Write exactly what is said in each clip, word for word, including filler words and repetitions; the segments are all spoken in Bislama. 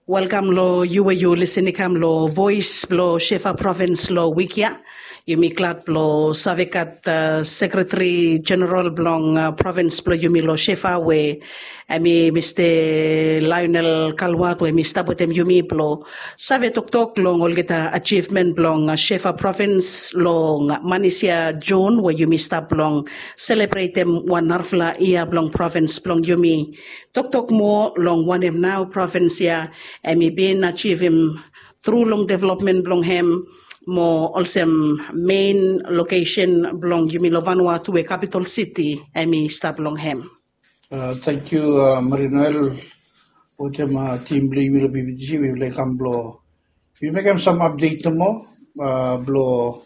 Welkam long yu we yu lisin i kam long Voes blong Shefa Provins long wik ya. Yumi glad blong save gat Sekretari Jeneral blong provins blong yumi long Shefa we em i Mista Lionel Kalwat we em i stap wetem yumi blong save toktok long olgeta ajivmen blong Shefa Provins long manis ya Jun we yumi stap long selebretem wan narafala yia blong provins blong yumi. Toktok moa long wanem nao provins ya em i bin ajivim tru long developmen blong hem mo olsem mein lokesen blong yumi long Vanuatu we kapitol siti em i stap long hem. Thank you Marie Noel wetem tim blong yumi long B B T C. Mifala i kam blong yumi mekem sam update nomo blong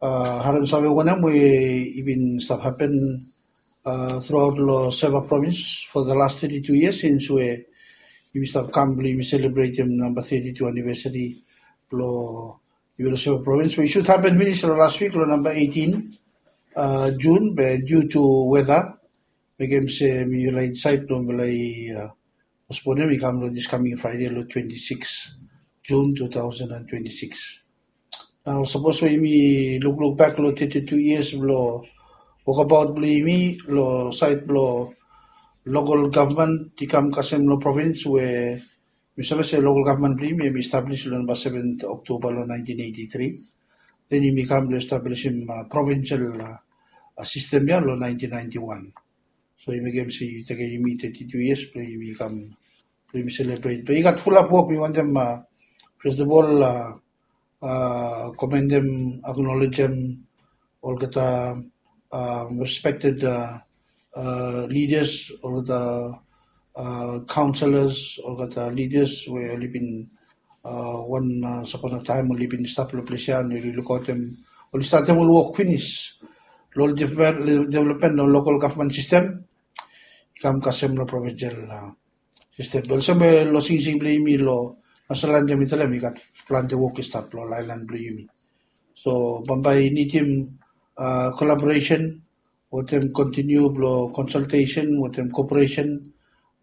harem save wanem we i bin stap hapen throughout long Shefa Provins for the last thirty-two years since we yumi stap kam blong yumi selebretem namba thirty-two anivesari blong yumi long Shefa Provins we i sud hapen finis long last wik long namba eighteen Jun be due to weather mekem se mifala i disaed blong mifala i postponem i kam long this coming Friday long twenty-six June two thousand and twenty-six. Nao sapos we yumi lukluk bak long thirty-two years blong wokabaot blong yumi long saed blong local gavman i kam kasem long provins we mi save se local gavman blong yumi em i establis long namba seven Oktoba long nineteen eighty-three. Then yumi kam blong establisim provinsel sistem ya long nineteen ninety-one. So i mekem se i tekem yumi thirty-two years blong yumi kam blong yumi selebret be i gat fulap wok mi wantem first of all commendem, acknowledgem olgeta respected leaders, olgeta councillors, olgeta leaders we oli bin wan sapana taem oli bin stap long ples ya and oli lukaotem oli statem ol wok finis long ol development long local gavman sistem i kam kasem long provinsel sistem. Be olsem we long singsing blong yumi long national anthem i talem i gat plante wok i stap long aelan blong yumi. So bambae i nidim collaboration wetem kontiniu blong consultation wetem cooperation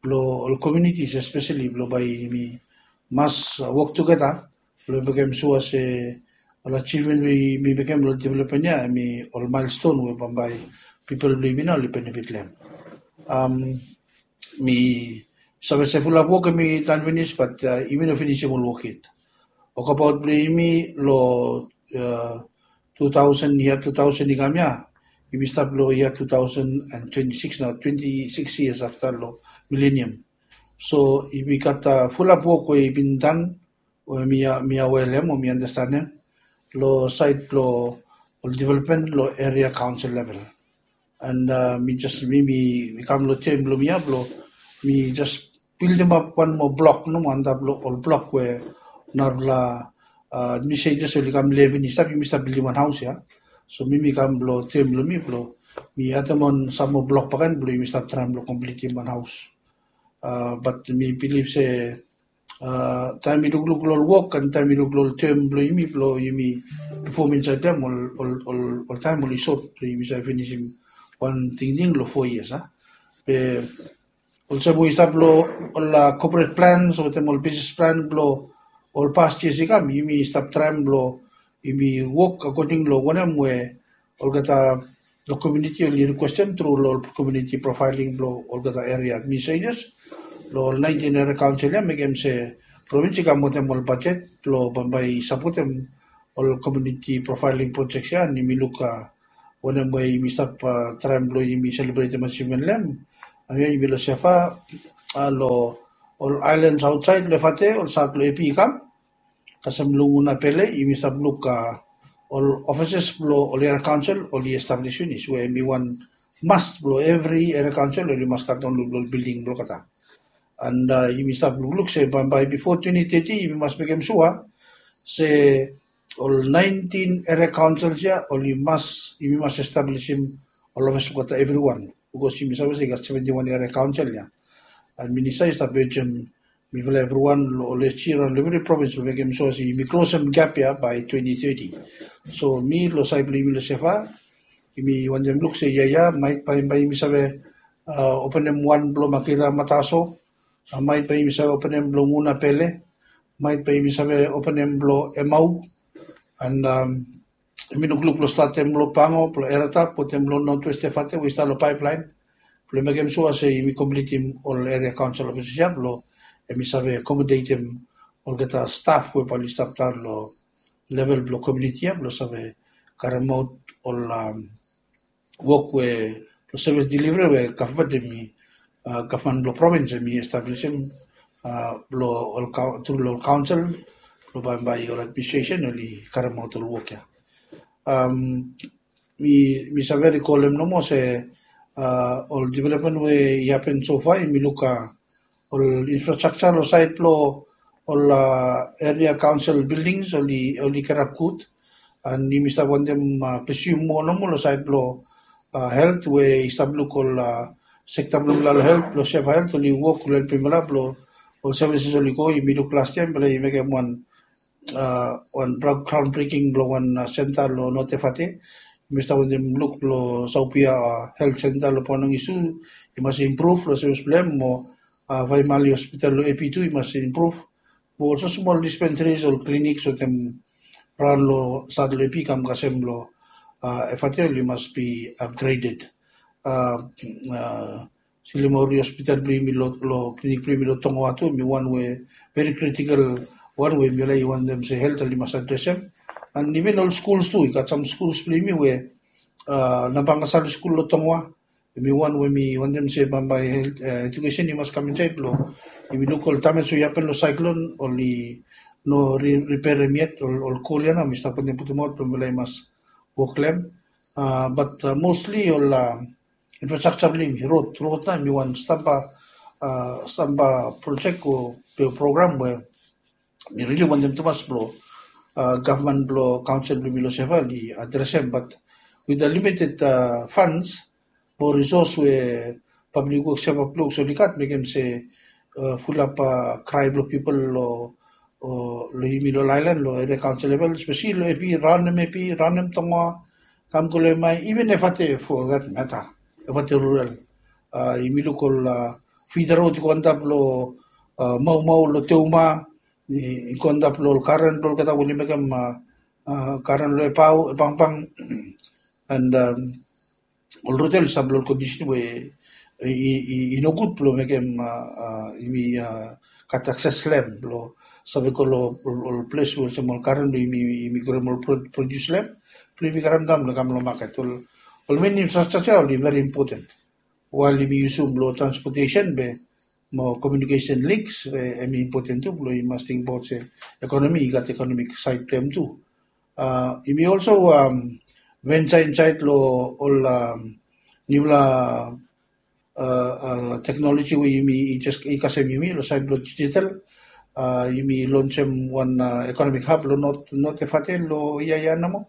blong ol communities especially blong bae yumi mas wok tugeta blong mekem sua se ol achievement we yumi mekem long development ya em i ol milestone we bambae pipol blong yumi nao oli benefit long hem. Mi save se fulap wok em i tan finis bat yumi no finisim ol wok yet. Wokabaot blong yumi long two thousand yia two thousand i kam ya yumi stap long yia two thousand and twenty-six nao twenty-six years afta long milenium. So yumi gat fulap wok we i bin tan we mi awe long hem o mi andastanem long saed blong ol development long eria kaonsel level. And mi jes mi mi kam long tem blong mi ya blong mi jes bildimap wan moa blok nomo antap long ol blok we narafala administrators oli kam levin i stap yumi stap bildim wan haos ya. So mi mi kam blong tem blong mi blong mi atem wan sam moa blok bakaen blong yumi stap traem blong komplitim wan haos. Bat mi bilif se taem mi lukluk long ol wok and taem mi luk long ol tem blong yumi blong yumi pefom insaed ya ol taem oli sot blong yumi save finisim wan tingting long fo yias a. Be olsem we i stap long ol corporate plans wetem ol bisnis plan blong ol past yias i kam yumi stap traem blong yumi wok akoding long wanem we olgeta long komuniti oli rikwestem tru long ol komuniti profaeling blong olgeta eria administrators long ol nineteen eria kaonsel ya mekem se provins i kam wetem ol bajet blong bambae i sapotem ol komuniti profaeling projeks ya and yumi luk wanem we yumi stap traem blong yumi selebretem achievement long hem. Nao ya yumi long Shefa long ol aelans aotsaed long Efate ol sat long Epi i kam kasem long Ngunapele yumi stap luk ol offices blong ol eria kaonsel oli establis finis we hem i wan must blong evri eria kaonsel oli mas gat wan luk long ol bilding blong olgeta. And yumi stap lukluk se bambae bifo twenty thirty yumi mas mekem sua se ol nineteen eria kaonsels ya oli mas yumi mas establisim ol ofis blong olgeta evriwan bikos yumi save se i gat seventy wan eria kaonsel ya. And minista i stap ejem mifala evriwan long ol SG raon long evri provins blong mekem sua se yumi klosem gap ya bae twenty thirty. So mi long saed blong yumi long Shefa yumi wantem luk se yia ya maet bae bae yumi save openem wan blong Makira Mataso, maet bae yumi save openem blong Ngunapele, maet bae yumi save openem blong Emau. And um, yumi lukluk blong statem blong Pango, blong Eratap, wetem blong Northwest Efate we i stap long pipeline. Blong mekem sua se yumi komplitim ol area council offices ia blong hemi save accommodatem olgeta staff we bae oli stap daon long level blong community ia blong save karemaot ol um, wok we blong service delivery we gavman hemi uh, gavman blong provins hemi establisim uh, blong ol tru long ol council blong bae bae ol administration oli karemaot ol wok ia. Um, mi mi save rikolem nomo se uh, ol development we i happen so far mi luk uh, ol infrastructure lo sait blo ol uh, area council buildings oli oli kerap gud. And yumi stap wantem uh, pursue moa nomo lo sait blo uh, health we i stap luk ol uh, sekta blo mila lo health blo seva health oli wok lo helpim mila blo ol services oli go. Yumi luk last year mila i mekem wan uh, wan groundbreaking blo wan uh, center lo North Efate. Yumi stap wantem luk blo Saupia uh, health center lo Ponong isu i mas improve lo service blo hem mo uh, Vaimali hospital lo Epi tu i mas improve. Mo also small dispensaries ol clinics wetem raon lo sat lo Epi kam kasem lo uh, Efate oli mas be upgraded. Uh, uh, Silimauri hospital blo yumi lo, lo clinic blo yumi lo Tongoa tu hemi wan we very critical wan we mi laik wantem se health oli mas adresem. And even ol schools tu i gat sam schools blo yumi we uh, Nabanga Sali School lo Tongoa hemi wan we mi wantem se bambae health uh, education i mas kam insaed blo yumi luk ol damage we i happen lo cyclone oli no re, repairem yet ol, ol kol ia nao mi stap wantem putumaot blo mi laik mas wok lo hem. Uh, but uh, mostly ol uh, infrastructure blo yumi road road nao hemi wan stamba uh, stamba project o program we mi really wantem tumas blo uh, gavman blo council blo yumi lo Seva oli adresem but with the limited uh, funds mo resource we public works Seva blo oli gat mekem se uh, fulap uh, cry blo people lo uh, lo yumi lo island lo area council level especially lo Epi raon hem Epi raon hem Tongoa kam go lo Emai even Efate for that matter Efate rural. Uh, yumi luk ol uh, feeder road i go antap lo uh, Maumau lo Teuma i go antap lo ol karen blo olgeta we oli mekem uh, uh, karen lo Epau Epangpang and um, ol road ia oli stap lo ol condition we i, i, i no gud blo mekem uh, uh, yumi uh, gat access lo hem blo save go lo ol ples we olsem ol karen blo yumi yumi grem ol produce lo hem blo yumi karem daon blo kam lo market ol ol main infrastructure oli very important. While yumi yusum blo transportation be mo communication links be hemi important tu blo yumi mas tingbaot se economy i gat economic side blo hem tu. Uh, yumi also um, venture inside lo ol um, niufala uh, uh, technology we yumi i just i kasem yumi lo side blo digital. Uh, yumi launchem wan uh, economic hub lo not not Efate lo ia ia nomo.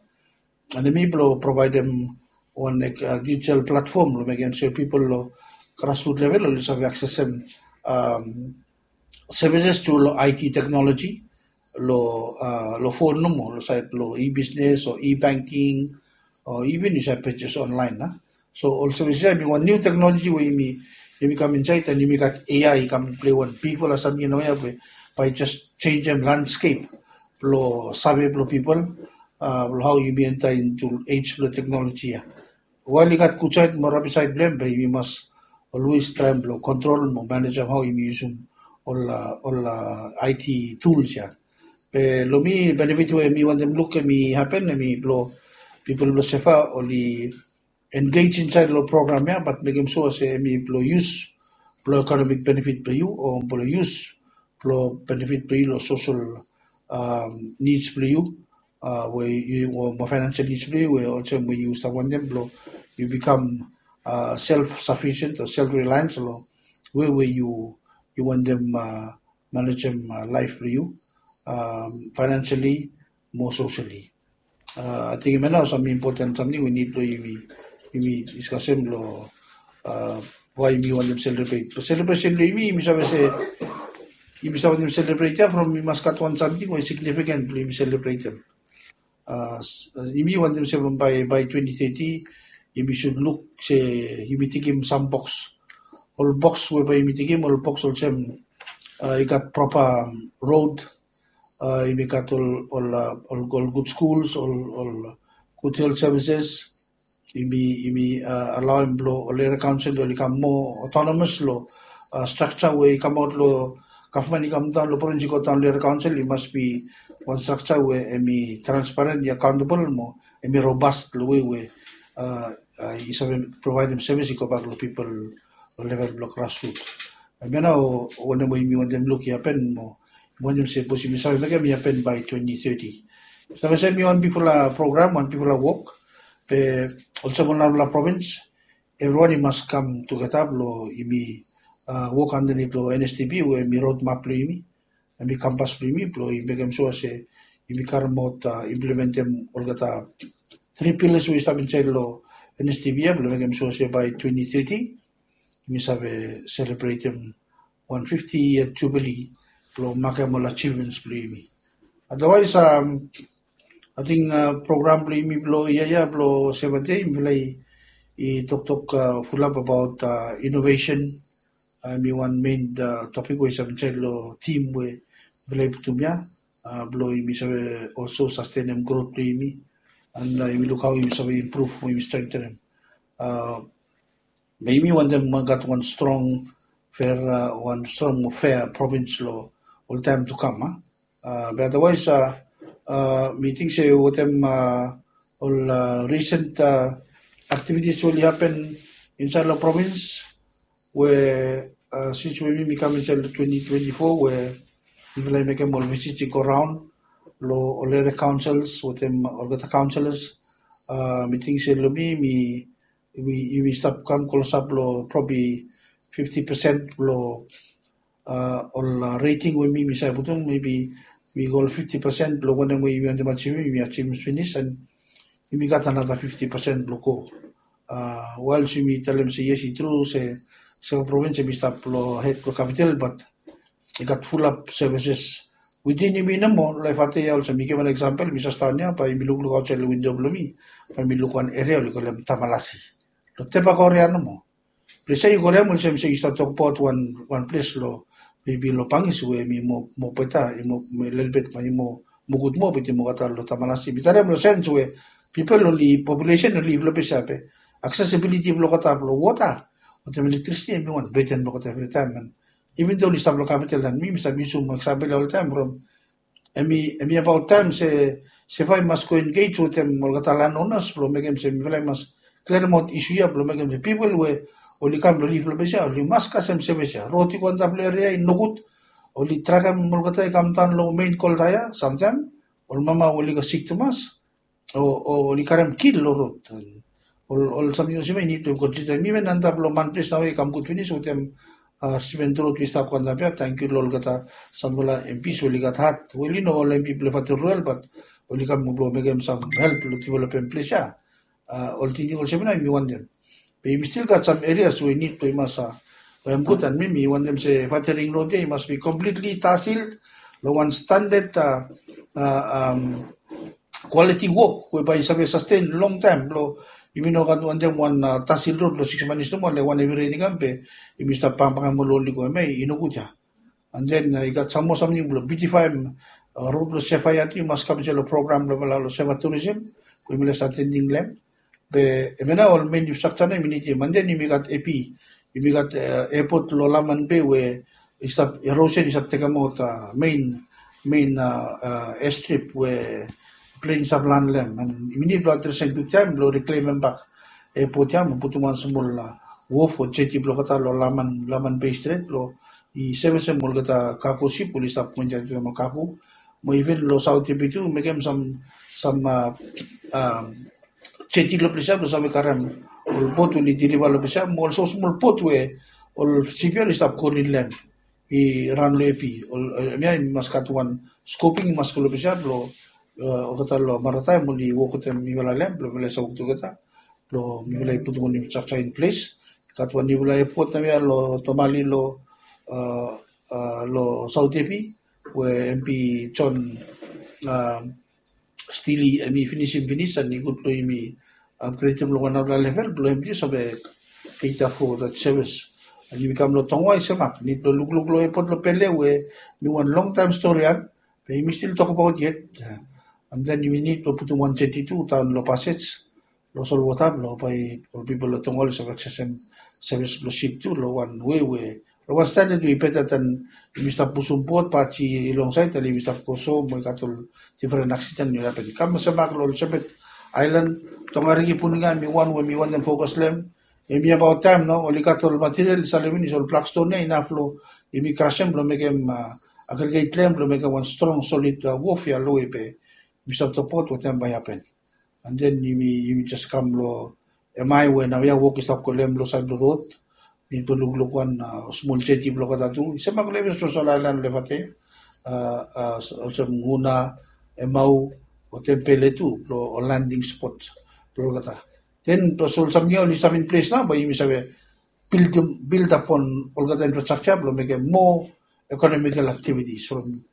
And hemi blo providem wan uh, digital platform lo mekem se people lo grassroot level oli save accessem um, services tu lo I T technology lo uh, lo phone nomo lo side lo e-business o e-banking o even yu save purchase online na. So ol services ia hemi wan new technology we yumi yumi kam inside and yumi gat A I i kam play wan bigfala samting nao ia we bae just changem landscape blo save blo people uh, blo how yumi enter into age blo technology ia. While i gat gud side mo rabi side blo hem be yumi mas always traem blo control mo managem how yumi yusum ol uh, ol uh, I T tools ia. Be lo mi benefit we mi wantem luk hemi happen hemi blo people blo Seva oli engage inside lo program ia but mekem sua se hemi blo use blo economic benefit blo yu o blo use blo benefit blo yu lo social um, needs blo yu uh, we yu o mo financial needs blo yu we olsem we yu stap wantem blo yu become uh, self sufficient o self reliance lo we we yu yu wantem uh, managem uh, life blo yu um, financially mo socially. Uh, I think hemia nao sam important samting we nid blo yumi yumi discussem blo uh, why yumi wantem celebrate. Blo celebration blo yumi yumi save se yumi save wantem celebrate ia from yumi mas gat wan samting we significant blo yumi celebratem. Uh, yumi wantem se from by by twenty thirty yumi should look se yumi tikim sam box. Ol box we bae yumi tikim ol box olsem uh, i gat proper um, road Yumi gat ol ol ol gud skuls, ol ol gud health services. Yumi yumi alaoim blong ol area council oli kam moa autonomous long structure we i kamaot long gavman i kam daon long provins i go daon long area council. I mas bi wan structure we em i transparent, i accountable mo em i robust long wei we i save provaedim sevis i go bak long pipol long level blong grassroot. Em ya nao wanem we yumi wantem luk i hapen mo wantem se bos yumi save mekem i hapen by twenty thirty. Save se em i wan bigfala program, wan bigfala wok. Be olsem ol narafala provins, evriwan i mas kam tugeta blong yumi wok andanit long N S T P we em i roadmap blong yumi, em i kampas blong yumi blong i mekem sua se yumi karemaot implementem olgeta three pillars we i stap insaed long N S T P ya blong mekem sua se by twenty thirty yumi save selebretem wan fifty year jubilee blong makem ol achievements blong yumi. Otherwise, um, ating uh, program blong yumi blong ia ia blong Saturday mifala i toktok uh, fulap about uh, innovation. Uh, mi wan main uh, topic we i save insaed long team we mifala i putum ia uh, blong yumi save also sustainem growth blong yumi and uh, yumi luk hao yumi save improve, yumi strengthenem. Uh, Be yumi wantem gat wan strong fair, wan strong mo fair provins long ol taem tu kam. Be otherwise mi ting se wetem ol recent activities we oli hapen insaed long provins we sins we mi mi kam insaed long twenty twenty-four we mifala i mekem ol visit i go raon long ol area councils wetem olgeta councillors. Mi ting se long mi mi yumi stap kam klosap long probi fifti pesen long ol rating we mi mi save putum, maybe mi go long fifti pesen long wanem we yumi wantem achivim, yumi achivim finis and yumi gat anata fifti pesen blong go. Waels yumi talem se yes, i tru se Sava provins em i stap long hed blong kapital, bat i gat fulap services witin yumi nomo. Laef ate ya olsem mi givim wan eksampel, mi save stap ya bae mi lukluk aotsaed long windo blong mi, bae mi luk wan eria oli kolem Tamalasi. Long Tebak eria nomo. Ples ya yu go long hem olsem se yu stap tokbaot wan ples long, mebi long Bangis we em i moa beta, i moa lelebet, bae i moa gud moa, bat i moa olgeta long Tamalasi. Mi talem long sens we pipol oli, populesen oli liv long ples ya be aksesibiliti blong olgeta blong wota wetem elektrisiti em i wan beten blong olgeta evritaem. And even though oli stap long kapital, and mi mi stap yusum eksampel ya oltaem from, em i abaot taem se Seva i mas go engage wetem olgeta land owners blong mekem se mifala i mas klirim aot isu ya blong mekem se pipol we oli kam blong liv long ples ya oli mas kasem sevis ya. Rod i go antap long eria ya i nogud, oli trakem olgeta i kam daon long mein kolta ya. Samtaem ol mama we oli go sik tumas o oli karem kil long rod. Ol samting olsem ya i nid blong konsida. Mi ven antap long man ples nao ya i kam gud finis wetem siment rod we i stap go antap ya. Tangkiu long olgeta samfala M Ps we oli gat hat, we oli no ol M P blong Fatu Rural, bat oli kam blong mekem sam help long developem ples ya. Ol tingting olsem ya nao mi wantem. Be yumi stil gat sam erias we i nid blong i mas, we em gud, and mi mi wantem se Fatering Road ya i mas bi completely tar sealed long wan standard quality wok we bae i save sustain longtaem. Blong yumi no gat wantem wan tar sealed road long six months nomo, le wan hevi ren i kam be yumi stap bangbangem ol oli go, hemia i nogud ya. And then i gat sam moa samting blong biutifaem rod blong Seva ya tu, i mas kam insaed long program blong mifala long Seva Tourism we mifala i save atending long hem. Be hemia nao ol mein infrastructure nao yumi nidim. And then yumi gat A P, yumi gat airport long Laman Bay we i stap, erosion i stap tekemaot mein, mein airstrip we plen i stap lan long hem. And yumi nid blong adresem kwiktaem blong reklemem bak airport ya mo putum wan smol wharf o jetty blong olgeta long Laman, Laman Bay Strait blong i sevisem olgeta cargo ship we oli stap go insaed wetem ol cargo. Mo even long South Epi tu mekem sam, sam jetty long ples ya blong save karem ol bot we oli deliva long ples ya, mo ol smosmol bot we ol shipyard i stap go in long hem, i ran long Epi. Hemia i mas gat wan scoping i mas go long ples ya blong olgeta long marataem oli wok wetem mifala long hem blong mifala i save wok tugeta blong mifala i putum ol infrastructure in ples. I gat wan niufala airport nao ya long Tomali long, long South Epi we M P John Steely em i finisim finis, and i gud blong yumi upgradem long wan narafala level blong em tu save cater for that service. And yumi kam long Tonga i semak, nid blong lukluk long airport long Pele we mi wan longtaem stori ya. Be yumi stil tokbaot yet, and then yumi nid blong putum wan jeti tu daon long pasej long solwota blong bae ol pipol long Tonga oli save aksesem sevis blong sip tu long wan wei we long wan standad we i beta dan yumi stap pusum bot baji i longsaed, taem yumi stap go so mo i gat ol difren aksiden i hapen. Kam olsem mak long ol Shepherd Island, Tongariki, Puninga, hemi wan we mi wantem fokas long hem. Hemi abaot taem nao oli gat ol material i salem finis, ol blak ston ia inaf long yumi krasem blong mekem agriget long hem blong mekem wan strong solid wof ia lowe be yumi stap tokbaot wetem bae i hapen. And then yumi yumi jes kam long hemia we naoia wok i stap go long hem long saed blong rod. Mi bin lukluk wan smol jeti blong olgeta tu i stap mak long evri soso aelan long Efate, olsem Nguna, Emau, wetem Pele tu blong ol landing spot blong olgeta. Then blong olsem ia oli stap in ples nao bae yumi save build upon olgeta infrastructure blong mekem moa economical activities from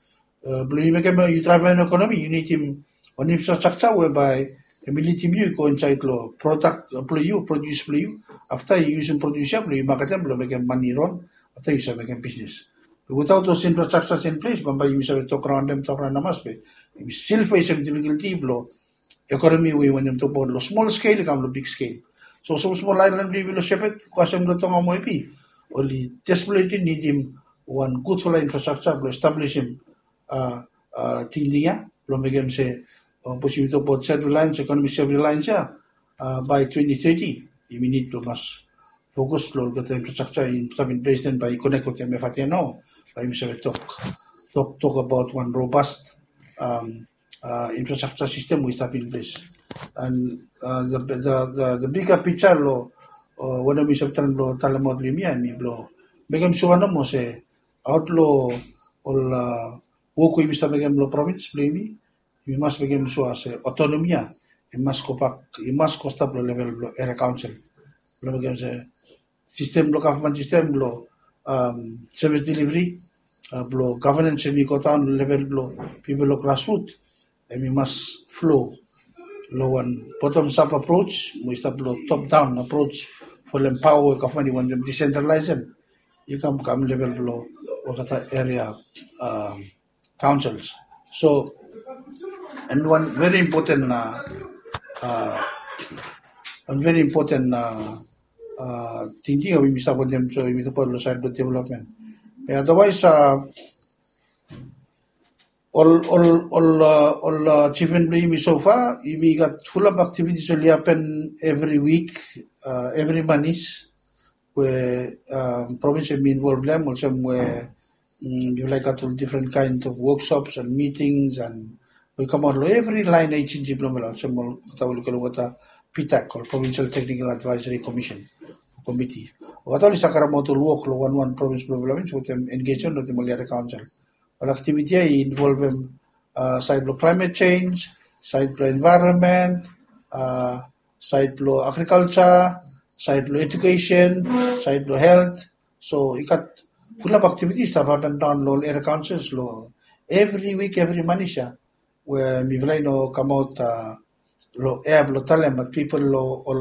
blong yu mekem yu draevem ekonomi yu nidim wan infrastructure we bae hemi lidim yu i go insaed long product blong yu, produs blong yu. Afta yu yusum produs ia blong yu maketem blong mekem mane i ron. Afta yu save mekem bisnes. Without those infrastructures in place bambae yumi save tok raon dem tok raon hamas be yumi stil fesem difficulty blong ekonomi we i wantem tokbaot long smol skel i kam long big skel. So smosmol aelan blong yumi long Shepherd kasem long Tonga mo Ebi oli desperately nidim wan gudfala infrastructure blong establisim tingting ia blong mekem se sapos yumi tokbaot self reliance, economic self reliance ia bae twenty thirty yumi nid blong mas fokus long olgeta infrastructure i stap in ples den bae i konek wetem Efate nao bae yumi save tok tok tok abaot wan robust infrastructure system we i stap in ples. And the bigger picture long wanem mi stap traem blong talemaot long yumi ia hemi blong mekem sua nomo se aot long ol wok we yumi stap mekem long provins blong yumi, yumi mas mekem sua se autonomy ia i mas gobak, i mas go stap long level blong area council blong mekem se sistem blong gavman sistem blong sevis delivery blong gavenens hemi go daon long level blong pipol long grassroot hemi mas flow long wan bottom up approach mo i stap long top down approach folem paoa we gavman i wantem decentralisem i kam kam level blong olgeta area councils. So and wan very important wan very important tingting we yumi stap wantem so yumi support long side blong development. Be otherwise ol ol ol ol achievement blong yumi so far yumi gat fulap activities oli happen every week, every manis we provins hemi involve long hem olsem we mifala i gat ol different kind of workshops and meetings and we kamaot long every line agency blong mifala olsem olgeta oli kolem olgeta PTAC ol Provincial Technical Advisory Commission Committee. Olgeta oli save karemaot ol wok long wanwan provins blong mifala wetem engagement wetem ol area council. Ol activity ia i involvem saed blong climate change, saed blong environment, saed blong agriculture, saed blong education, saed blong health. So i gat fulap activities i stap hapen daon long ol area councils long evri wik evri manis ia we mifala i no kamaot long ea blong talem bat pipol long ol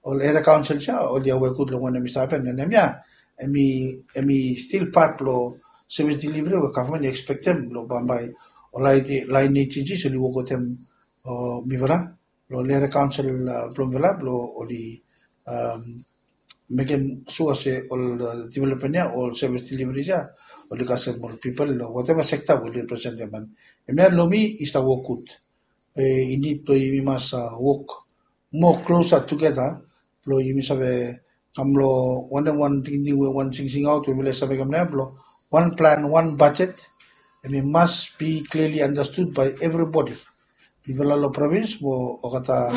ol area councils ia oli aware gud long wanem i stap hapen. And hemia hemi stil pat blong service delivery we gavman i ekspektem long bambae ol line agencies oli wok wetem mifala long ol area council blong mifala blong oli mekem sua se ol development ia ol service deliveries ia oli kasem ol pipol long whatever sector we oli representem. And hemia long mi i stap wok gud. Be i nid blong yumi mas wok moa klosa tugeta blong yumi save kam long wanem wan tingting we wan singsingaot we mifala i save kam nao ia blong wan plan wan bajet. Hemi mas be clearly understood by everybody. Mifala long provins mo olgeta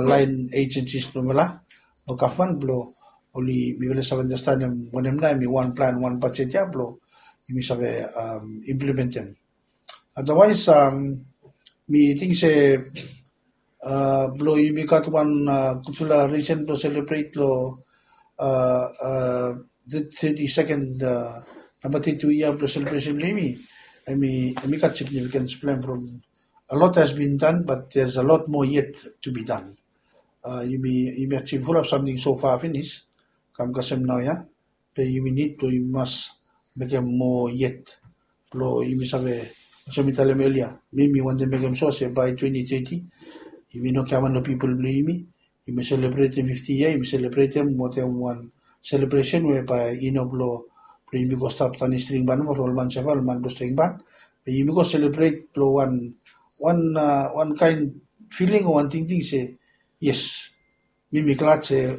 line agencies blong mifala long gavman blong oli mifala i save andastanem wanem nao hemi wan plan wan bajet ia blong yumi save implementem. Otherwise mi ting se blong yumi gat wan gudfala risen blong selebret long thirty second namba thirty two yia blong selebresen blong yumi. Hemi gat significance blong hem from a lot has been done but there's a lot more yet to be done. Yumi yumi achieve fulap samting so far finis kam kasem naoia. Be yumi nid blong yumi mas mekem moa yet blong yumi save Olsem mi talem elia, mi mi wantem mekem sua se bae twenty thirty yumi no giaman long pipol blong yumi. Yumi selebretem fifti yia, yumi selebretem wetem wan selebresen we bae i no blong blong yumi go stap tanim string ban mo ol man seva ol man blong string ban. Be yumi go selebret blong wan wan wan kaen filing o wan tingting se yes, mi mi glad se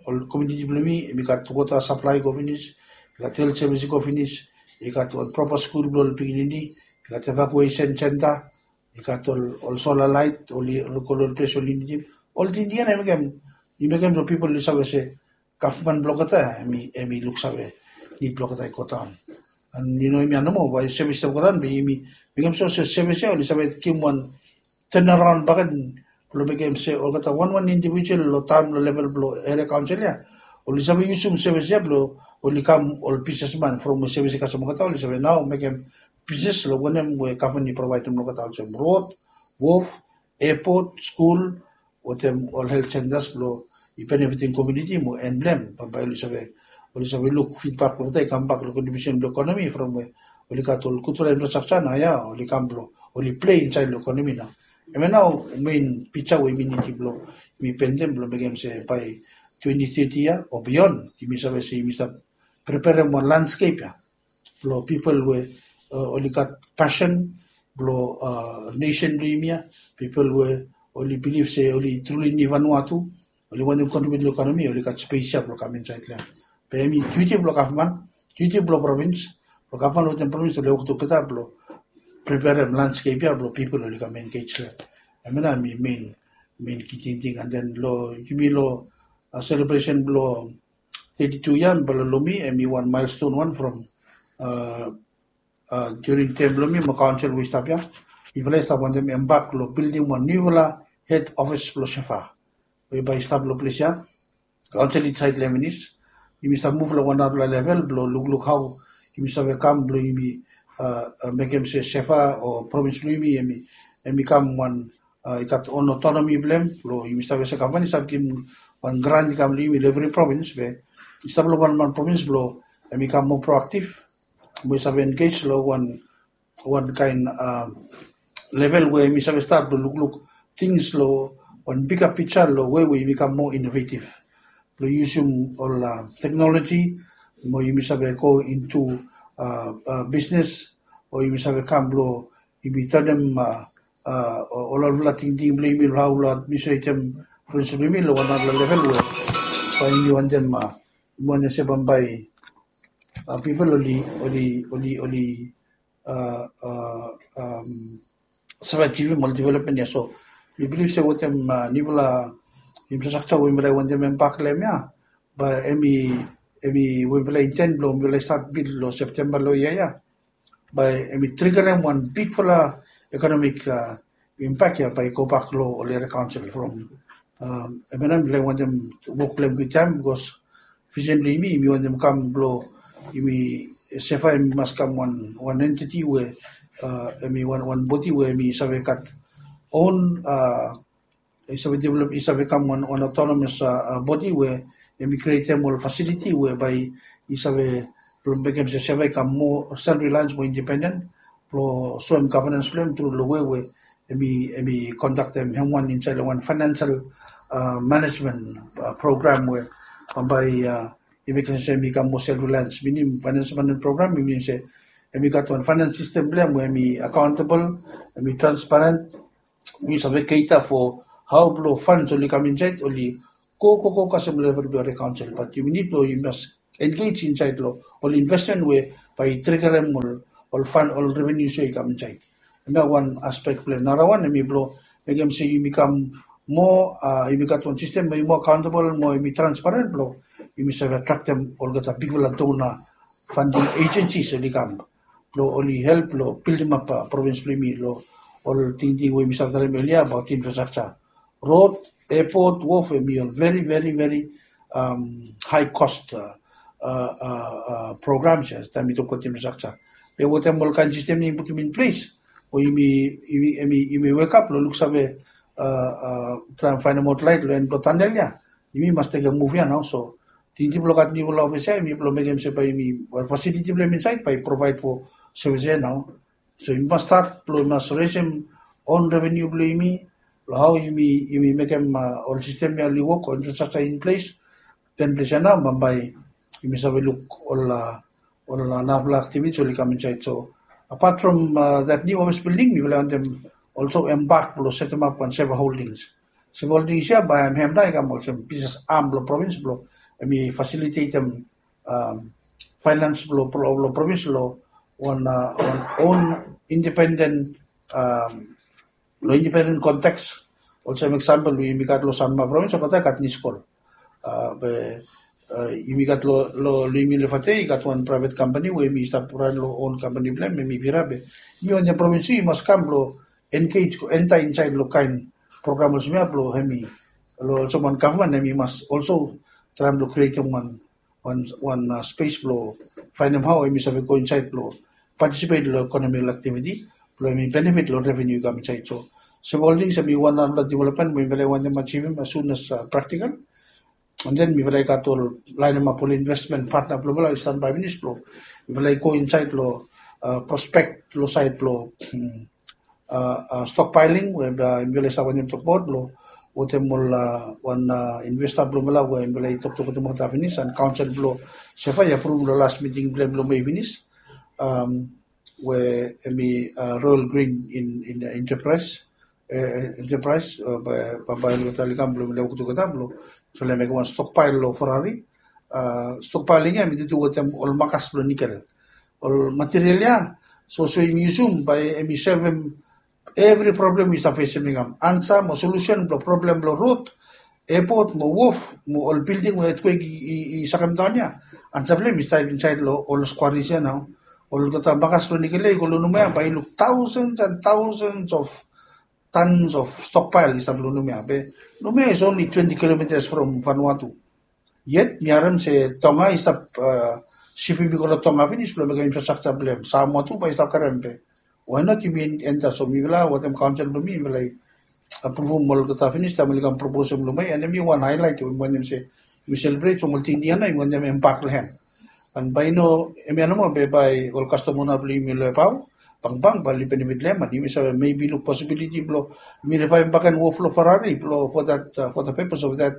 ol komuniti blong mi i gat wota saplae i go finis, i gat helt sevis i go finis, i gat wan propa skul blong ol pikinini, i gat evakuesen senta, i gat ol ol sola laet oli go long ol ples oli nidim. Ol tingting ia na i mekem i mekem long pipol oli save se gavman blong olgeta em i em i luksave nid blong olgeta i godaon. An yu no em ya nomo bae sevis ya godaon be yumi mekem so se sevis ya oli save givim wan tenaraon bagen blong mekem se olgeta wanwan indivijual long taem long level blong eria kaonsel ya oli save yusum sevis ya blong oli kam ol bisnesman from we sevis i kasem olgeta oli save nao mekem bisnes long wanem we gavman i provaedem long olgeta olsem rod, wof, epot, skul, wetem ol helt sentas blong i benefitim komuniti mo en blong hem bambae oli save oli save luk fidbak blong olgeta i kambak long kontribiusen blong ekonomi from we oli gat ol gudfala infrastraksa nao ya oli kam blong oli plei insaed long ekonomi nao. Hemia nao mein pija we yumi nidim blong yumi pendem blong mekem se bae twenty thirty ya o bion yumi save se yumi stap preperem wan landskep ya blong pipol we oli gat pasen blong nesen blong yumi ya, pipol we oli bilif se oli truli nid Vanuatu, oli wantem kontribiut long ekonomi oli gat spes ya blong kam insaed long hem. Be hemi duti blong gavman, duti blong provins, blong gavman wetem provins oli wok tugeta blong preperem landskep ya blong pipol oli kam engej long hem. Hemia nao hemi mein mein ki tingting an den long yumi long selebresen blong thirty-two ya bala long mi hemi wan milestone wan from during term blong mi mo kaonsel we i stap ya. Mifala i stap wantem embak long bildim wan niufala hed ofis blong sefa we bae i stap long ples ya. Kaonsel i disaed long hem finis. Yumi stap muv long wan narafala level blong lukluk hao yumi save kam blong yumi mekem se sefa o provins blong yumi hemi kam wan i gat on otonomi blong hem blong yumi save se gavman i save givim wan grant i kam long yumi long evri provins be i stap long wanwan provins blong hemi kam moa proaktiv mo i save engej long wan wan kaen level we yumi save stat blong lukluk tings long wan biga pija long we we yumi kam moa inovetiv blong yusum ol teknoloji mo yumi save go intu bisnes o yumi save kam blong yumi tanem ol olfala tingting blong yumi long hao long administretem prinsipo blong yumi long wan narafala level we bae yumi wantem wanem se bambae pipol oli oli oli oli save ajivim ol developmen ya. So mi bilif se wetem niufala infrastraksa we mifala i wantem embak long hem ya bae hemi hemi we mifala inten blong mifala i stat bil long Septemba long yia ya bae hemi trigerem wan bigfala ekonomik imbak ya bae i gobak long ol eria kaonsel from hemia nao mifala i wantem wok long hem kwiktaem bikos visen blong yumi yumi wantem kam blong yumi sefa hemi mas kam wan wan entiti we hemi wan wan bodi we hemi save gat on i save develop i save kam wan wan autonomous bodi we hemi krietem ol fasiliti we bae i save blong mekem se sefa i kam moa self reliance mo independen blong soem gavenans blong hem tru long we we hemi hemi kondaktem hem wan insaed long wan financial management program we bambae i mekem se hemi kam moa self reliance minim financial management program i minim se hemi gat wan finance system blong hem we hemi accountable, hemi transparent, yumi save cater for hao blong funds oli kam insaed oli go go go kasem level blong area kaonsel bat yumi nid blong yumi mas engage insaed long ol investment we bae i trigerem ol ol fund ol revenues we i kam insaed. Hemia wan aspek blong hem narawan hemi blong mekem se yumi kam moa yumi gat wan sistem we i moa accountable mo yumi transparent blong yumi save atraktem olgeta bigfala dona funding agencies oli kam blong oli help long bildimap provins blong yumi long ol tingting we yumi save talem elia abaot infrastraksa, rod, epot, wof hemi ol veri veri veri hae kost programs ya taem mi tokbaot infrastraksa. Be wetem ol kaen sistem ya yumi putum in ples o yumi yumi yumi wekap long luksave traem faenemaot laet long en blong tanel ya. Yumi mas tekem muv ya nao so tingting blong gat niufala ofis ya yumi blong mekem se bae yumi wan fasiliti blong hem insaed bae i provaed fo sevis ya nao. So yumi mas stat blong yumi mas resim on revenu blong yumi, long hau yumi yumi mekem ol sistem ya oli wok o infrastructure in ples. Ten ples ya nao bambae yumi save luk ol ol narapela aktivitis oli kam insaed. So apat from that new office bilding mifala wantem olso embak blong setemap wan seva holdings. Seva holdings ya bae hem hem nao i kam olsem bisnes am blong provins blong em i fasilitetem fainans blong provins long wan wan on independen long independen konteks. Olsem eksampel we yumi gat long Sanma provins olgeta i gat niskol. Be yumi gat long long yumi lefate i gat wan praivet kampani we yumi stap ran long on kampani blong em em i pira be yumi wantem provins i mas kam blong engej go enta insaed long kaen program olsem ya blong em i long olsem wan gavman em i mas olso traem blong krietem wan wan wan spes blong faenem hau em i save go insaed blong patisipet long ekonomikal aktiviti blong em i benefit long revenu i kam insaed. So sem ol tings em i wan narapela developmen we mifala i wantem ajivim as soon as praktikal. And then mifala i gat ol laenemap ol investment patna blong mifala i stanbae pinis blong mifala i go insaed long prospek long saed blong stockpiling we mifala i stap wantem tokbaot blong wetem ol wan investa blong mifala we mifala i toktok wetem olgeta pinis and kaonsel blong sefa i apruvum long las miting blong em long mei pinis. We em i royal green in enterprise enterprise bambae olgeta oli kam blong mifala i wok togeta blong mifala i mekem wan stokpael long Ferrari. Stokpaeling ya em i dudu wetem ol makas blong nikel ol material ya. So so yumi yusum bae em i solvem evri problem we i stap fesem i kam ansa mo solusen blong problem blong rod, epot mo wof mo ol bilding we etkwek i sakem daon ya. Ansa blong em i stap insaed long ol skwaris ya nao. Olgeta makas blong nikel ya i go long numa ya bae i luk tausens and tausens of tons of stokpael i stap long numa ya be numa ya is only twenty kilometas from Vanuatu. Yet mi harem se Tonga i stap sipim i go long Tonga pinis blong mekem infrastructure blong em Samoa tu bae i stap karem be why not yumi enta? So mifala wetem kaonsel blong mi mifala i apruvum olgeta pinis taem oli kam proposem long mi and em i wan haelaet we mi wantem se mi selebret from ol tingting ya nao yumi wantem embak long hem. And bae i no em ya nomo be bae ol kastom ona blong yumi long ebao bangbang bae oli benefit long hem and yumi save maybe luk posibiliti blong yumi rivaevim baken wof long Ferrari blong for that for the purpose of that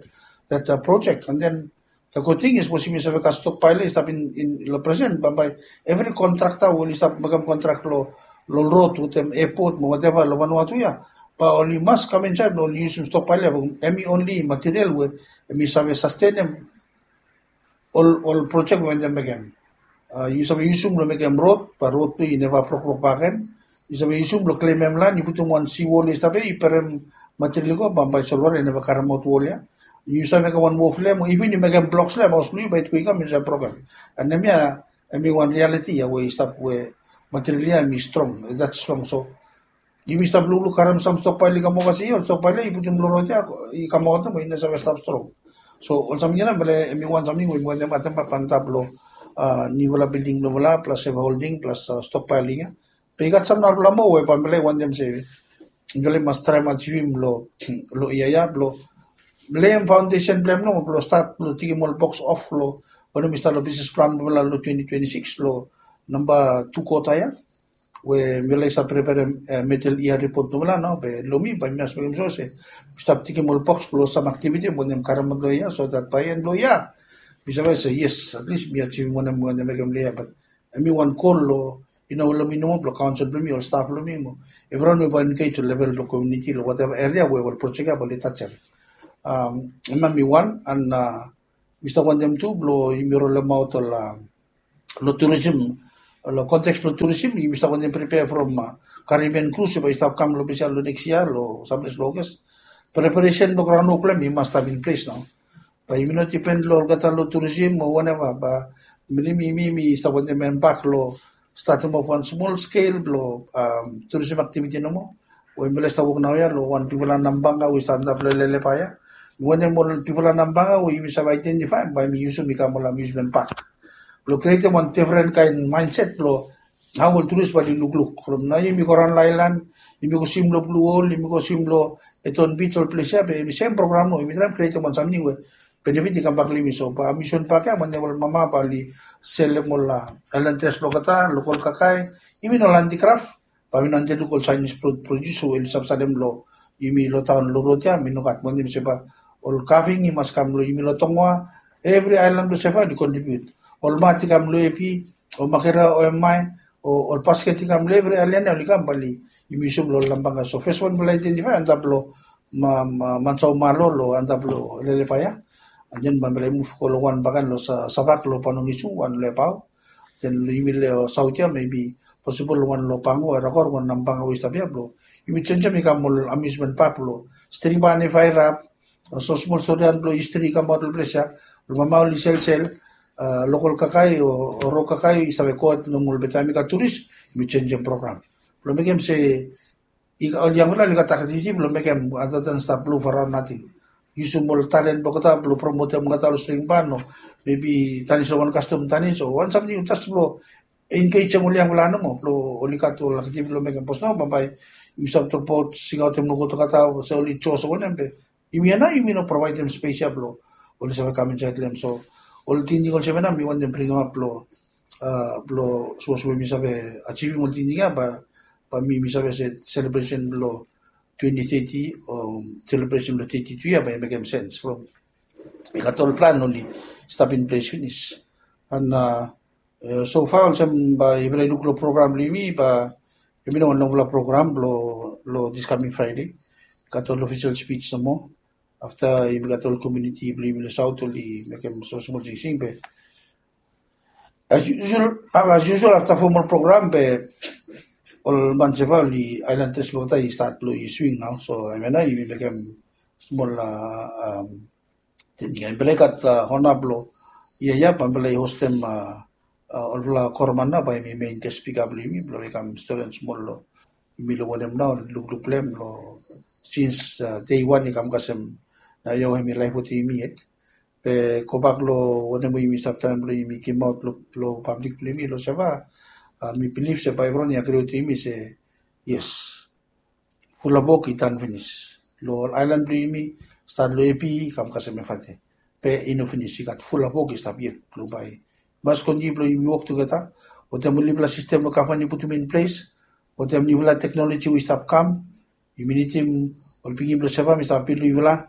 that project. And then the good thing is sapos yumi save gat stokpael ya i stap in long presen bambae evri kontrakta we oli stap mekem kontrak long long rod wetem epot mo wateva long Vanuatu ya bae oli mas kam insaed blong oli yusum stokpael ya. Em i onli material we em i save sastenem ol ol projek we wantem mekem. Yu save yusum long mekem rod bae rod tu i neva brokrok bakegen. Yu save yusum long klemem lan yu putum wan siwol i stap ya i perem material i go bambae solwara i neva karemaot wol ya. Yu save mekem wan wof long em o even yu mekem bloks long em haos blong yu bae i go i kam i save broken. And em ya em i wan rialiti ya we i stap we material ya em i strong that strong. So yumi stap lukluk karem sam stokpael i kam ova se ya ol stokpael ya i putum long rod ya i kamaot mo i no save stap strong. So ol samting ya nao mifala em i wan samting we mi wantem atem antap long niufala bilding blong mifala plas seva holding plas stokpaeling ya. Be i gat sam narapela moa we bambae mifala i wantem se mifala i mas traem ajivim long long yia ya blong leem faondesen blong em nao blong stat blong tikim ol boks of long wanem i stap long bisnes plan blong mifala long twenty twenty six long namba tu kota ya. We mifala i stap preperem medel yia ripot blong mifala nao be long mi bae mi mas mekem so se mi stap tikim ol boks blong sam aktiviti we mi wantem karemaot long yia so that bae en blong yia mi save se yes at least mi ajivim wanem mi wantem mekem long yia. Bat em i wan gol long i no long mi nomo blong kaonsel blong mi ol staf blong mi mo evriwan we bae engej long level blong komuniti long wateva eria we ol projek ya bae oli tajem. Em ya mi wan and mi stap wantem tu blong yumi rolemaot ol long turisim long konteks blong turisim yumi stap wantem pripea from Caribbean cruise bae i stap kam long ples ya long neks yia long samples long August. Preparesen blong graon wok blong em i mas stap in ples nao. Bae yumi no dipen long olgeta long turisim o waneva bae mi mi mi mi stap wantem embak long statem of wan smol skel blong turisim aktiviti nomo we mifala i stap wok naoia long wan bigfala nambanga we i stap antap long leleba ya. Mi wantem ol bigfala nambanga we yumi save aedentifaem bae mi yusum i kam ol amiusmen pak blong krietem wan defren kaen maenset blong hao ol turis bae oli lukluk from nao yumi go raon long aelan, yumi go swim long blu hol, yumi go swim long eton bits ol ples ya be yumi sem program nao yumi traem krietem wan samting we benefit i kambak long yumi. So bae amiusmen pak ya wantem ol mama bae oli selem ol aelan dres blong olgeta, lokol kakae, even ol antikraf. Bae mi no wantem luk ol Chinese produce we oli save salem long yumi long taon long rod ya, mi no gat. Mi wantem se bae ol kaving i mas kam long yumi long Tongoa, evri aelan blong Seva oli kontribiut. Ol mat i kam long Epi, o Makera, o Emae, o ol basket i kam long evri aelan ya oli kam bae oli yumi yusum long ol nambanga. So fes wan bae oli aedentifae antap long Mansau Malo long antap long Lelepa ya. And then bae oli muv go long wan bakegen long Savak long Panongisu, wan long Ebao. Then long yumi long saot ya, maybe posibol wan long Pango, Erakor, wan nambanga we i stap ya blong yumi jenjem i kam ol amusement park blong String Barn i faerap. So smol storian blong histri i kamaot long ples ya. Ol mama oli selsel, lokol kakae o rok kakae i save gohed long ol, be taem i gat turis, yumi jenjem program blong mekem se ol yangfala oli gat aktiviti blong mekem, other than stap blong faraon nating. Yusum ol talen blong olgeta blong promotem olgeta long String Barn, o maybe tanis long wan kastom tanis o wan samting, jes blong engejem ol yangfala nomo blong oli gat ol aktiviti blong mekem. Bikos nao bambae yumi stap tokbaot singaotem nogut olgeta se oli jos o wanem, be yumi ya nao yumi no provaedem spes ya blong oli save kam insaed long hem. So ol tingting olsem ya nao mi wantem bringim ap blong, blong sapos we mi save ajivim ol tingting ya, bae mi save se selebresen blong twenty thirty o selebresen blong thirty two ya bae i mekem sens from i gat ol plan oli stap in ples finis. And so far olsem bae yufala i luk long program blong yumi, bae yumi no wan longfala program blong this coming Friday. Gat ol ofisel spij nomo. Afta yumi gat ol komuniti blong yumi long saot oli mekem smol smol singsing, be as usual, as usual afta fom ol program be ol man Seva oli, aelan tres blong olgeta i stat blong i swing nao. So hemia nao yumi mekem smol tingting. Yufala i gat hona blong yia ya bae yufala i hostem olfala koroman nao bae hemi mein ges spika blong yumi blong i kam storian smol long yumi long wanem nao lukluk blong hem long sins dei wan i kam kasem nao ya we hemi laef wetem yumi yet. Be gobak long wanem we yumi stap taem blong yumi gimaot long pablik blong yumi long Seva, mi bilif se bae evriwan i agri wetem yumi se yes, fulap wok i tan finis. Long ol aelan blong yumi, stat long Epi i kam kasem Efate, be i no finis, i gat fulap wok i stap yet blong bae i mas kontiniu blong yumi wok tugeta wetem ol niufala sistem we gavman i putum in ples, wetem niufala teknoloji we i stap kam. Yumi nidim ol pikinini blong Seva, mi stap apil long yufala,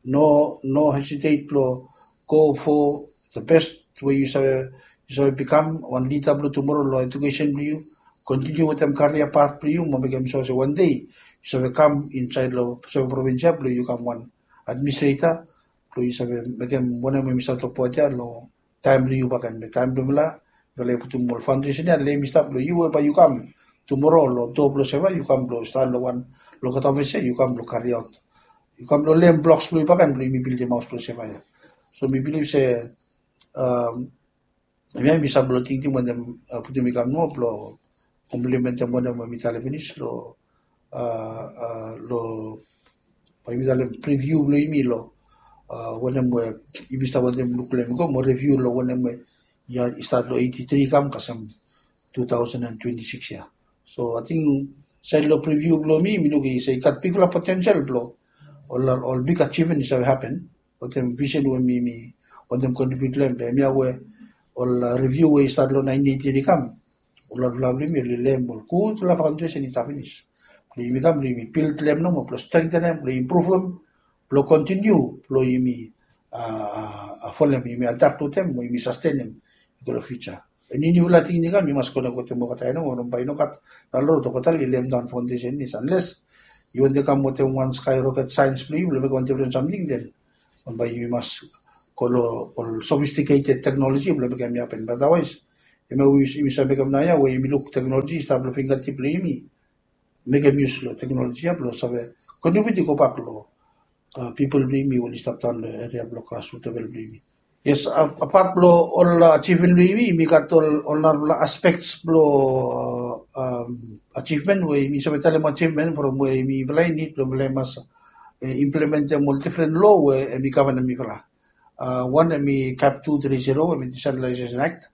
no, no hesitate blong go for the best we yu save, yu save bikam wan lida blong tumoro long ejukesen blong yu. Kontiniu wetem karia pat blong yu mo mekem sua se wan dei yu save kam insaed long Seva provins ya blong yu kam wan administreta blong yu save mekem wanem we mi save tokbaot ya long taem blong yu bakegen. Be taem blong mifala, mifala i putum ol faondesen ya, lem i stap long yu we bae yu kam tumoro long doa blong Seva, yu kam blong stan long wan, long olgeta ofis ya, yu kam blong kariaot, yu kam blong lem bloks blong yu bakegen blong yumi bildim haos blong Seva ya. So mi bilif se hemia mi stap blong tingting wanem putum i kam nomo blong komplimentem wanem we mi talem finis long, long, bae mi talem priviu blong yumi long wanem we yumi stap wantem luk long hem i go mo riviu long wanem we i stat long eighty three i kam kasem two thousand and twenty six ya. So ating saed long priviu blong mi, mi luk i se i gat bigfala potensel blong ol, ol big ajivmen i save hapen wetem visen we mi, mi wantem kontribiut long hem. Be hemia we ol riviu we i stat long nineteen eighty i kam, ol laefala blong yumi oli lem ol gudfala faondesen i stap finis blong yumi kam blong yumi bild long hem nomo blong strengtenem, blong impruvum, blong kontiniu blong yumi folem, yumi adap wetem mo yumi sastenem i go long fiuja. Eni niufala tingting i kam, yu mas konek wetem olgeta ya nomo, bae i no gat nao rod olgeta oli lem daon faondesen finis, anles yu wantem kam wetem wan skaeroket saens blong yu blong mekem wan difren samting, den bae yu mas go long ol sofistiketed teknoloji blong mekem hemi hapen. Be adawaes hemia we yumi save mekem naoia we yumi luk teknoloji i stap long fingatip blong yumi, mekem yus long teknoloji ya blong save kontribiut i gobak long pipol blong yumi we oli stap daon long eria blong grasrut level blong yumi. Yes, apat blong ol ajivmen blong yumi, yumi gat ol, ol narafala aspeks blong ajivmen we yumi save talem ajivmen from we yumifala i nid blong mifala i mas implementem ol difren loa we hemi gavanem mifala. Wan hemi cap two three zero, hemi Decentralization Act.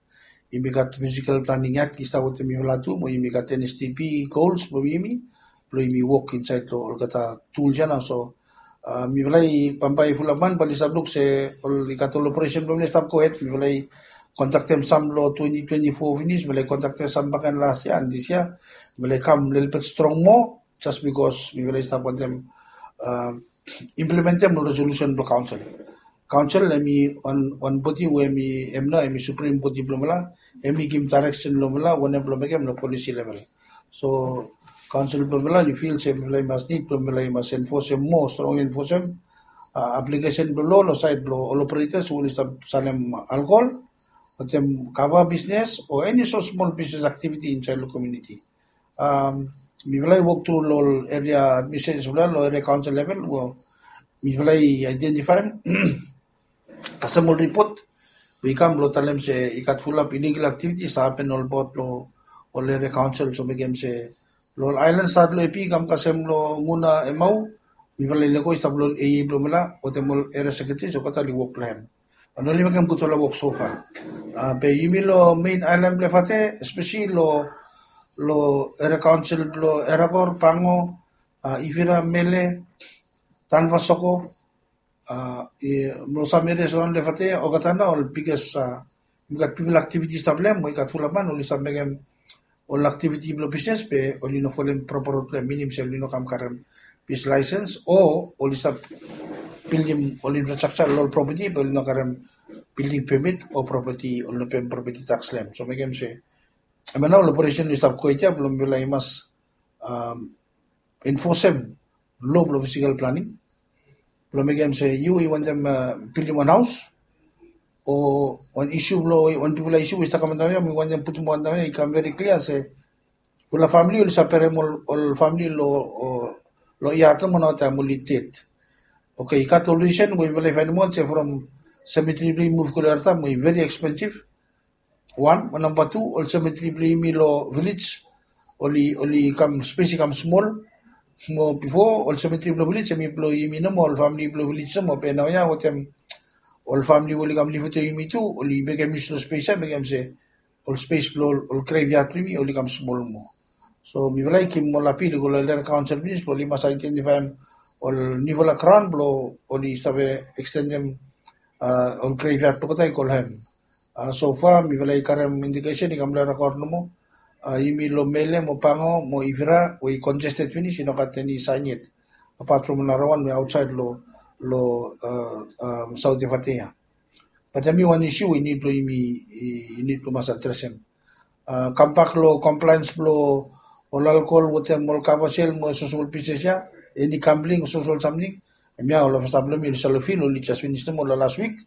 Yumi gat Physical Planning Act i stap wetem mifala tu, mo yumi gat N S T P gols blong yumi, blong yumi wok insaed long olgeta tuls ya nao. So mifala i bambae fulap man bae oli stap luk se ol, i gat ol operesen blong mifala i stap gohed, mifala i kontaktem sam long twenty twenty-four finis, mifala i kontaktem sam bakegen last year and this year, mifala i kam lelebet strong moa, just because mifala i stap wantem uh, implementem ol resolution blong council. Council em i wan wan bodi we em i em nao em i supreme bodi blong mifala, em i givim direction long mifala wanem blong mekem long policy level. So council blong mifala oli feel se mifala i mas need blong mifala i mas enforcem moa strong enforcem uh, application blong law long side blong ol operators we oli stap salem alcohol, wantem kava business o any so small business activity inside long community. Um, mifala i wok tru long area administration mifala long area council level, mifala i identify kasem ol report we i kam blong talem se i gat fulap illegal activities happen olbaot long ol area council, so mekem se long ol island stat long epi i kam kasem long muna emau, mifala i lego i stap long ol aa blong mifala wantem ol area secretaries olgeta oli wok long hem. And oli mekem gudfala wok so far. Uh, be yumi long main island blong efate, especially long long area council blong erakor pango, uh, ifira mele, tanvasoko, uh, i, long sam areas around efate olgeta nao ol biggest uh, i gat bigfala activities stap long hem we i gat fulap man oli stap mekem ol activity blong business be oli no folem proper road blong hem, minim se oli no kam karem business license o oli stap buildim ol infrastructure long ol property be oli no karem building permit o property, oli no pem property tax long hem. So mekem se em nao ol operation i stap kwet ya blong mifala i mas um, enforcem law blong physical planning blong mekem se yu i wantem uh, buildim wan haus o wan issue blong wan bigfala issue we i stap kam antap ya, mi wantem putum antap ya i kam very clear se ol famili oli save berem ol famili long yat nomo nao taem oli ded. Oke, i gat ol risen we mifala i fainemaot se from cemetery blong i muv go long yat taem we i very expensive. Wan mo namba tu, ol cemetery blong yumi long vilej oli oli kam spes i kam smol. Mo bifo ol cemetery blong vilej em i blong yumi nomo, ol famili blong vilej nomo, be naoia wetem ol famili we oli kam liv wetem yumi tu oli mekem yus long spes ya mekem se ol spes blong ol greviat blong yumi oli kam smol moa. So mifala i givim ol apil i go long land council finis blong oli mas aedentifaem ol niufala graon blong oli save ekstendem ol greviat blong olgeta i go long hem. So far mifala i karem indikesen i kam long rekod nomo, yumi long Mele mo Pango mo Ivira we i congested finis i no gat eni saen yet, apat from nara wan we aotsaed long South Efate ya. Bat hemi wan issue we i nid blong yumi i nid blong mas adresem. Kambak long compliance blong ol alcohol wetem ol kava sel mo social business ya, eni gambling o social samting, hemia ol ofisa blong yumi oli save fil oli jas finis nomo long las wik.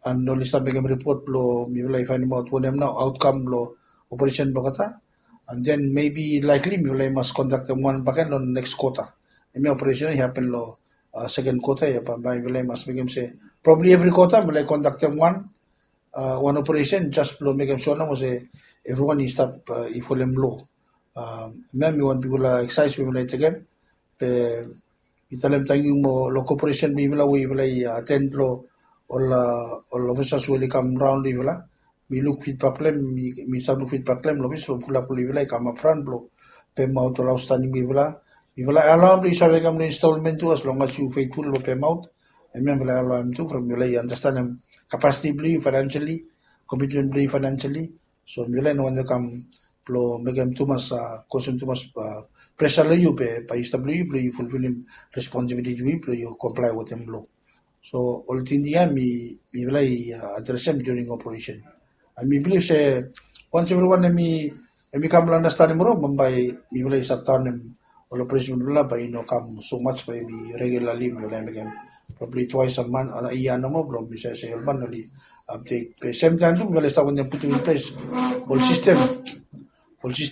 And oli stap mekem ripot blong mifala i fainemaot wanem nao aotkam blong operesen blong olgeta. And then maybe likely mifala i mas kondaktem wan bakegen long neks kwota. Hemia operesen i hapen long seken kwota ya, bambae mifala i mas mekem se probably evri kwota mifala i kondaktem wan wan operesen jas blong mekem sua nomo se evriwan i stap i folem lo. Hemia hemi wan bigfala eksaes we mifala i tekem. Be mi talem tangkiu mo long koperesen blong yufala we yufala i aten long ol ol ofisas we oli kam raon long yufala. Mi luk fidbak blong hem, mi save luk fidbak blong hem long ofis from fulap long yufala i kamap fran blong pemaot ol aostaning blong yufala. Yufala i alaoem blong yu save kam long instalmen tu as long as yu fetful long pemaot. Hemia mifala i alaoem tu from yufala i andastanem kapasiti blong yu fainansali, komitmen blong yu fainansali. So mifala i no wantem kam blong mekem tumas kosem tumas presa long yu be bae i stap long yu blong yu fulfilim responsibiliti blong yu blong yu komplae wetem lo. So ol tingting ya mifala i adresem during operesen. And mi bilif se wans evriwan hemi kam long andastanim ro bambae mifala i sat daonem ol operesen blong mifala bae i no kam so much bae hemi regularli mifala i mekem probably twice a month a yia nomo blong mi save se ol man oli update. Be semtaem tu mifala i stap wantem putum in ples ol sistem ol sistem